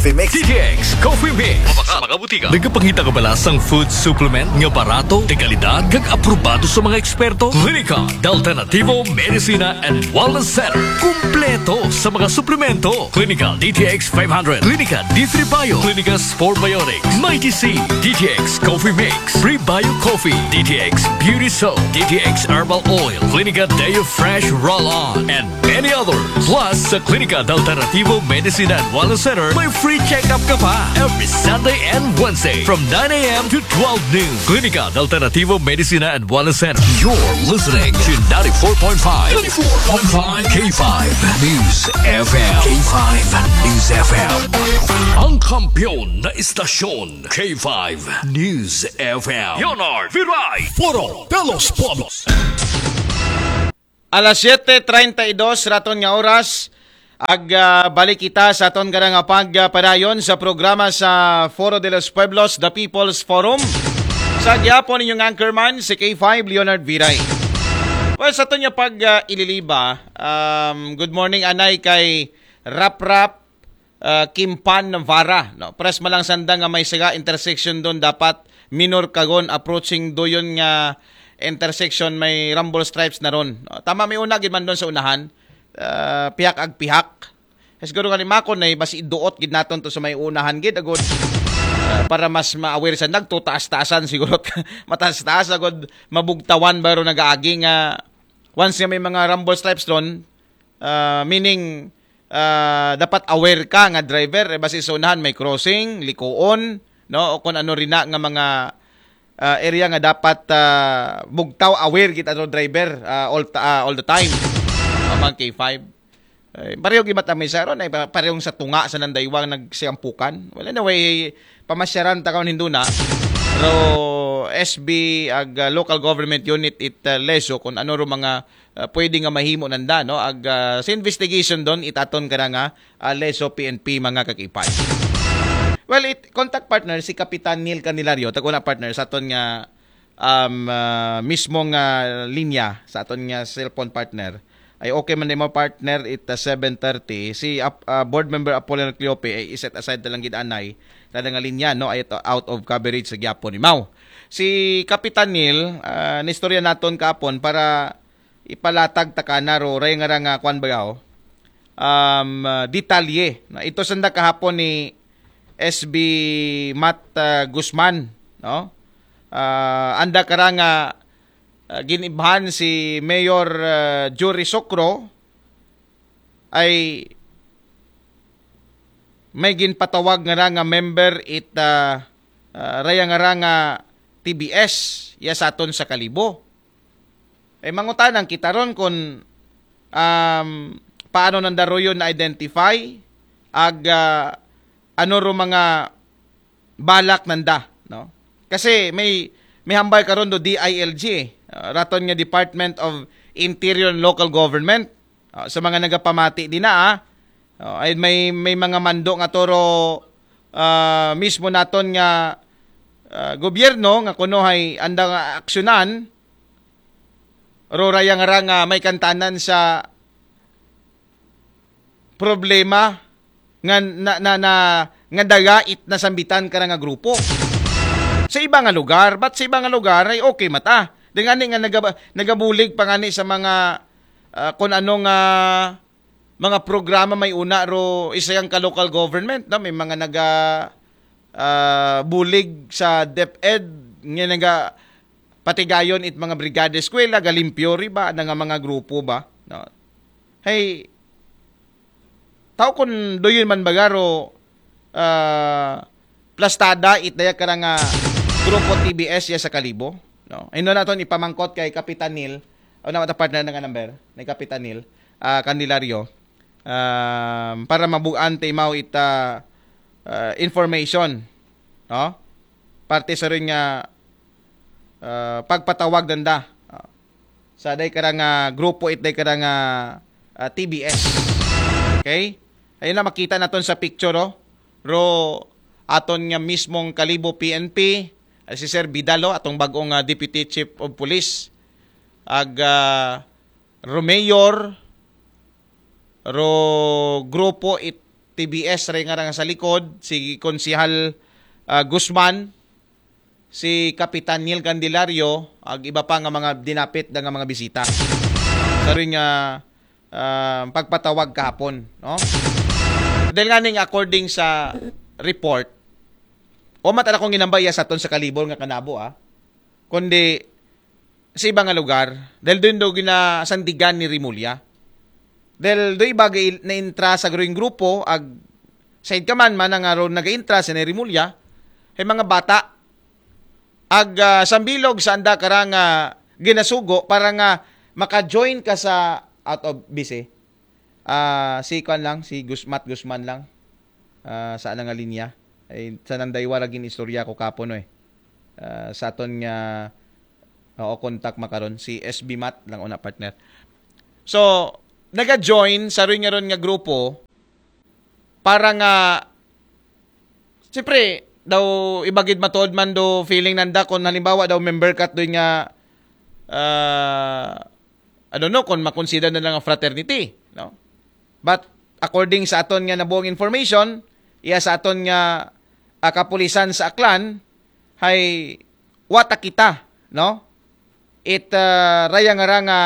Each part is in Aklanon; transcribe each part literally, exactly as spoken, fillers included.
Coffee Mix. D T X Coffee Mix. Sa mga butika. Nagapangita ka ba sa food supplement nga barato, de kalidad, kag aprobado sa mga eksperto? Klinika de Alternativo Medicina and Wellness Center. Kumpleto sa mga suplemento. Klinika D T X five hundred, Klinika D three Bio, Klinika Spore Biotics, Mighty C, D T X Coffee Mix, Prebio Coffee, D T X Beauty Soap, D T X Herbal Oil, Klinika Deo Fresh Roll-On, and many others. Plus, sa Klinika de Alternativo Medicina and Wellness Center, may free check-up ka pa every Sunday and Wednesday from nine a.m. to twelve noon. Klinika de Alternativo Medicina and Wellness Center. You're listening to ninety-four point five, ninety-four point five K five News F M. K five News F M. Ang kampiyon na istasyon, K five News F M. Leonard Viray. Foro de los Pueblos. Alas siyete treinta y dos raton nga oras. Ag ah, balik kita sa aton karang pagpadayon sa programa sa Foro de los Pueblos, The People's Forum. Sa gyapon inyong anchorman, si K five Leonard Viray. Well, sa aton nga pag ah, ililiba, um, good morning anay kay Rap Rap uh, Kimpan Navarra. No? Press malang sanda nga may saga intersection doon dapat minor kagon approaching doon nga intersection may rumble stripes na ron. No? Tama may una gid man doon sa unahan. Uh, pihak ag pihak. Siguro nga ni Mako na basi iduot gid naton to sa may unahan gid agod uh, para mas ma-aware sa nagtutaas-taasan siguro mataas-taas agod mabugtawan baro nagaagi nga once nga may mga rumble stripes ron uh, meaning uh, dapat aware ka nga driver eh, basi sa unahan may crossing, likuon, no? O kung ano rin na nga mga uh, area nga dapat uh, bugtaw aware kita to driver uh, all, uh, all the time. Mga K five. Eh, pareho gimat ang mesa ron ay parehong sa tunga sa nandaywang nagsiampukan. Well, anyway, pamasyaran ta kaon hinduna. Pero S B ag uh, local government unit it uh, leso kung ano ro mga uh, pwede nga mahimo nanda no ag uh, sa investigation don itaton ka nga uh, leso P N P mga kakipay. Well, it contact partner si Kapitan Neil Candelario taguna partner sa aton nga um, uh, mismo nga linya sa aton nga cellphone partner ay okay man mo partner it uh, seven thirty si uh, board member Apollon Cleope ay iset aside na lang gid anay kada nga linya no ay out of coverage sa gyapon ni Mau si Kapitan Neil uh, nistorya naton kapon para ipalatag ta kana ro ray nga ra nga kwan bayaw um, uh, detalye na ito sanda kahapon ni S B Matt uh, Guzman no uh, anda kara nga uh, ginibhan si Mayor uh, Jory Socro ay may ginpatawag nga ra nga member it uh, uh, raya nga ra nga T B S ya sa aton sa Kalibo. Eh mangutanang kita ron kung um, paano nanda ro yun na-identify ag uh, ano ro mga balak nanda, no? Kasi may may hambal karon do D I L G, eh. Uh, raton nga Department of Interior and Local Government. Uh, sa mga nagapamati din na, ah. Uh, ay may may mga mando nga toro uh, mismo naton nga uh, gobyerno nga kuno hay anda nga aksyonan ro raya nga ra nga may kantanan sa problema nga na, na, na nga daga it nasambitan ka nga grupo. Sa iba nga lugar, but sa iba nga lugar ay okay mata. Dingani nga nagaba, nagabulig pa ngani sa mga uh, kung ano nga mga programa may una ro isa yang ka local government no may mga naga uh, bulig sa DepEd nga naga patigayon it mga brigada eskwela galimpyo ri ba na nga mga grupo ba no hey tao kun doyon man bagaro uh, plastada it daya kara nga grupo T B S ya sa Kalibo no ino naton ipamangkot kay Kapitan Neil o na mata partner nga number ni Kapitan Neil uh, Candelario um, para mabuan ta imaw ita uh, information no parte sa rin nga uh, pagpatawag nanda uh, sa day kara nga grupo it day kara nga uh, T B S. Okay? Ayun na makita naton sa picture oh. Ro aton nga mismong Kalibo P N P uh, si Sir Vidal oh, atong bagong uh, Deputy Chief of Police ag uh, Ro Mayor ro grupo it T B S ray nga rang sa likod, si Konsehal ah, Guzman, si Kapitan Neil Candelario, ag iba pa nga mga dinapit da nga mga bisita. Sa rin nga ah, pagpatawag kahapon, no? Dahil nga ning according sa report, o matala kong ginambay sa aton sa Kalibor nga kanabo, ah. Kundi sa iba nga lugar, dahil doon do ginasandigan ni Rimulya. Dahil do iba ga-, naintra sa growing grupo, ag side ka man, man nga ron nag-intra sa ni Rimulya, ay mga bata, ag ah, sambilog sa anda karang ah, ginasugo para nga maka-join ka sa out of B C. Ah, si kuan lang, si Gus-, Matt Guzman lang. Ah, sa nga linya. Ay, sa nang daywa ra gin istorya ko kapo, no, eh. Ah, sa aton nga, oo, contact makaron, si S B Matt lang una, partner. So, naga-join sa rin nga ron nga grupo para nga, siyempre, daw ibagid matod man do feeling nanda kung halimbawa daw member kat doon nga, ah, I don't know kung makonsider na lang ang fraternity, no? But according sa aton nga nabuong information, iya sa aton nga ah, kapulisan sa Aklan, hay wata kita, no? It ah, raya nga ra nga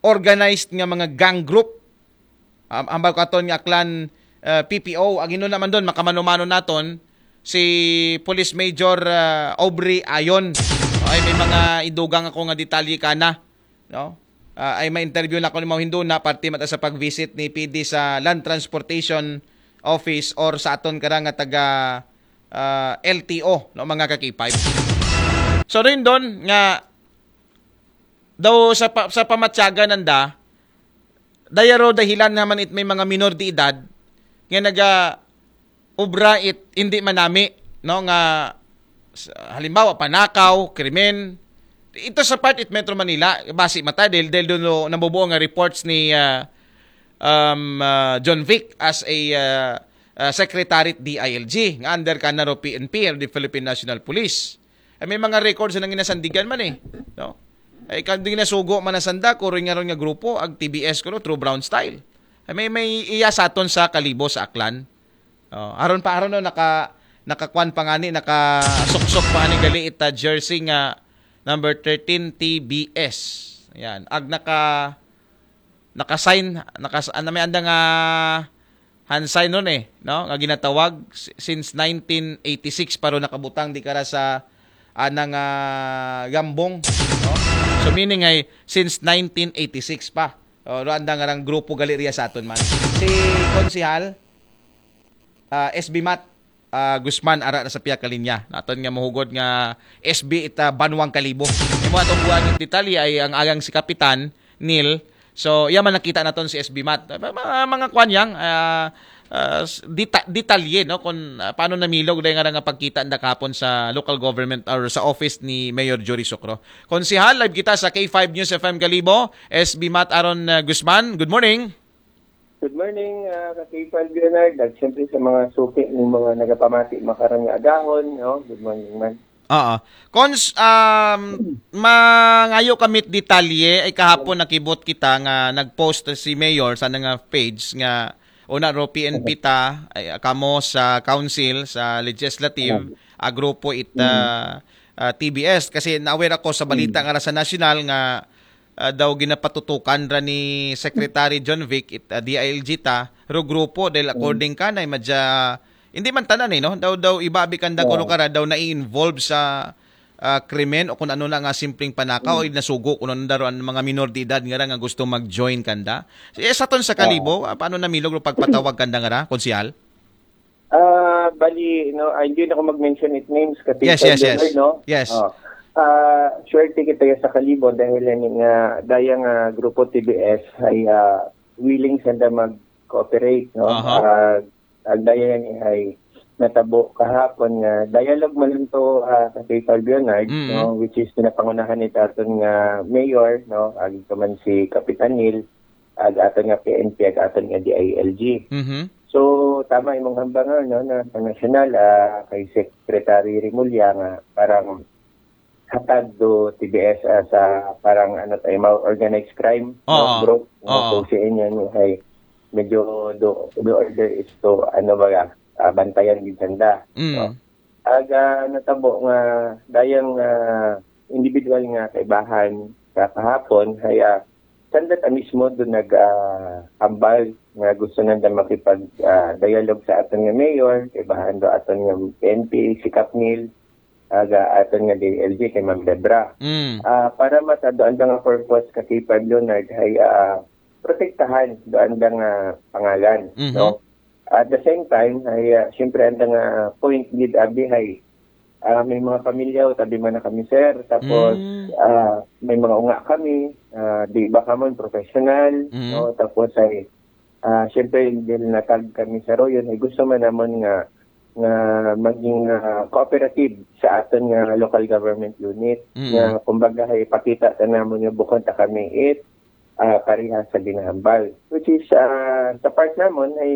organized nga mga gang group. Am-, ambal ko aton nga Aklan ah, P P O, ang ino naman doon, makamano-mano naton, si Police Major ah, Aubrey Ayon. Okay, may mga idugang ako nga detalye kana, no? Ah, ay ma-interview na ko ni Mao Hinduna, parte mata sa pag-visit ni P D sa Land Transportation Office or sa aton karang nga taga ah, L T O, no, mga ka K five. So rin doon nga daw sa pa, sa pamatyagan nanda, dayaro dahilan naman it may mga minor de edad nga naga obra it hindi manami, no, nga s- halimbawa panakaw, krimen. Ito sa part it Metro Manila, basi mata dahil dahil doon no, nabubuo nga reports ni ah, um, ah, John Vic as a ah, ah, secretary at D I L G nga under kanaro P N P or the Philippine National Police. Ay, may mga records na ginasandigan man eh, no? Ay kan di nasugo man nasanda ko rin nga ron nga grupo ag T B S ko no, through Brown Style. Ay, may may iya sa aton sa Kalibo sa Aklan. Oh, aron pa aron no naka nakakuan pa ngani, nakasuksok pa ani gali ita jersey nga number thirteen T B S. Yan. Ag naka naka-sign, nakas ano may anda nga hand sign nun eh, no? Nga ginatawag si- since nineteen eighty-six pa ron nakabutang di kara sa anang ah, gambong, no? So meaning ay since nineteen eighty-six pa. O, ro anda nga rang grupo gali riya sa aton man. Si Konsehal ah, S B Mat ah, Guzman ara na sa piya ka linya. Naton nga mahugod nga S B ita Banwang Kalibo. Imo atong buwan detalye ay ang agang si Kapitan Neil. So, iya man nakita naton si S B Mat. Mga, mga kwan yang ah, ah, s- deta- detalye no kung ah, paano namilog dahil nga nga pagkita nda kahapon sa local government or sa office ni Mayor Jory Socro. Konsehal, live kita sa K five News F M Kalibo, S B Mat Aaron ah, Guzman. Good morning. Good morning, uh, ka K five Leonard, at siyempre sa mga suki ng mga nagapamati makarang nga agahon, no? Good morning man. Oo. Cons, um, mangayo kami detalye ay kahapon nakibot kita nga nag-post si Mayor sa nga page nga una ro P N P ta ay kamo sa council sa legislative a grupo ita ah, T B S kasi na-aware ako sa balita nga ra sa national nga ah, daw ginapatutukan ra ni Secretary John Vic it ah, D I L G ta ro grupo dahil according ka na madya hindi man tanan eh no daw daw ibabi kan da kuno kara daw na-involve sa ah, krimen o kung ano na nga simpleng panakaw o nasugo kuno na daro ang mga minor de edad nga ra nga gusto mag-join kanda. Eh, sa ton sa Kalibo, ah, paano namilog ro pagpatawag kanda nga ra, konsehal? Ah, bali, no, ah, hindi na ako mag-mention it names kasi Yes, yes, yes. no? Yes. Oh. Ah, swerte kita sa Kalibo dahil yan nga daya nga grupo T B S ay ah, willing sanda mag-cooperate, no? Aha. Ah, ang daya yan ay natabo kahapon nga dialogue man lang to ah, sa K five Leonard, Mm. no, which is pinapangunahan ni aton nga mayor, no, agi ka man si Kapitan Neil, ag aton nga P N P, ag aton nga D I L G. Mhm. So, tama imong hambang no, na sa national ah, kay Secretary Remulla nga parang hatag do T B S ah, sa parang ano tayo, mga organized crime no, Oo. group. No? Oo. So, si inyo ni ay medyo do, the order is to, ano ba, ah, bantayan gid sanda. Mm. Aga natabo nga dayang ah, individual nga kaibahan sa kahapon, kaya sanda ta mismo do nag ah, hambal nga gusto nanda makipag ah, dialogue sa aton nga mayor, kaibahan do aton nga N P, si Capnil, aga aton nga D L G kay Ma'am Debra. Mm. Ah, para matadoan da nga purpose ka K five Leonard ay ah, protektahan doon da nga pangalan, Mhm. no? At the same time, ay ah, siyempre ang nga point gid abi hay ah, may mga pamilya o tabi man na kami, sir. Tapos Mm. ah, may mga unga kami, ah, di ba kamon professional, Mm. no? Tapos ay ah, siyempre dahil natag kami sa Royon, ay gusto man namon nga nga maging ah, cooperative sa aton nga local government unit, Mm. nga kumbaga ay pakita ta namon nga bukon ta kami it ah, pareha sa ginahambal, which is ah, sa part namon ay